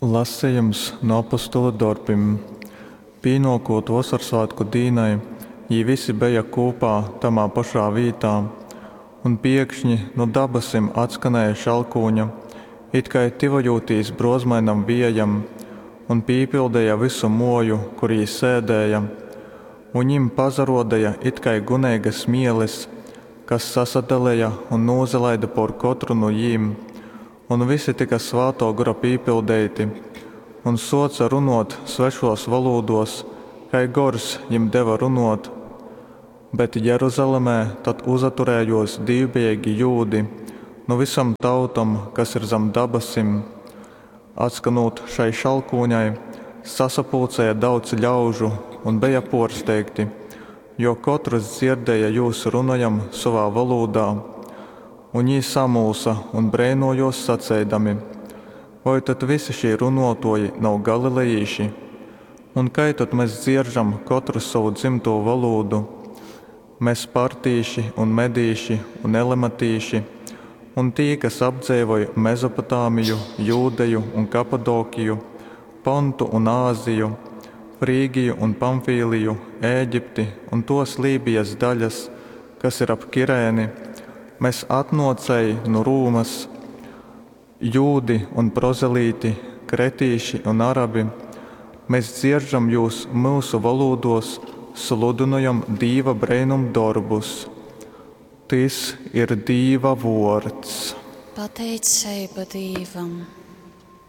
Lasejums nu Apostolu dorbim. Pīnōkūt Vosorsvātku dīnai, jī visi beja kūpā tamā pošā vītā. Un piekšņi nu dabasim atskanēja šalkūņa, itkai tyvojūtīs brōzmainam viejam, un pīpildeja vysu mōju, kur jī sēdēja. Un jim pasarōdeja itkai guneigas mieles, kas sasadaleja un nūsalaide pōr kotru nu jim. Un visi tyka Svātō Gora pīpildeiti un sōce runōt svešōs volūdōs, kai Gors jim deva runōt. Bet Jeruzalemē tad uzaturējōs dīvbejeigi jūdi nu vysom tautom, kas ir zam dabasim. Atskanūt šai šalkūņai, sasapulcēja daudz ļaužu un beja pōrsteigti, jo kotrs dzierdēja jūs runojam sovā volūdā. Un jī samulsa un breinōjōs saceidami, Voi tad visi šī runōtōji nav galilejīši? Un kai tad mes dzieržam kotrs sovu dzymtū volūdu? Mes partīši un medīši un elematīši, un tī, kas apdzeivoj Mezopotamiju, Jūdeju un Kapadokiju, Pontu un Āziju, Frygiju un Pamfīliju, Ēģipti un tōs Lībijas daļas, kas ir ap Kirēni, mes atnōcēji nu Rūmas, jūdi un prozelīti, kretīši un arabi, mes dzieržam jūs myusu volūdōs sludynojam Dīva breinumdorbus. Tys ir Dīva vōrds. Pateiceiba Dīvam.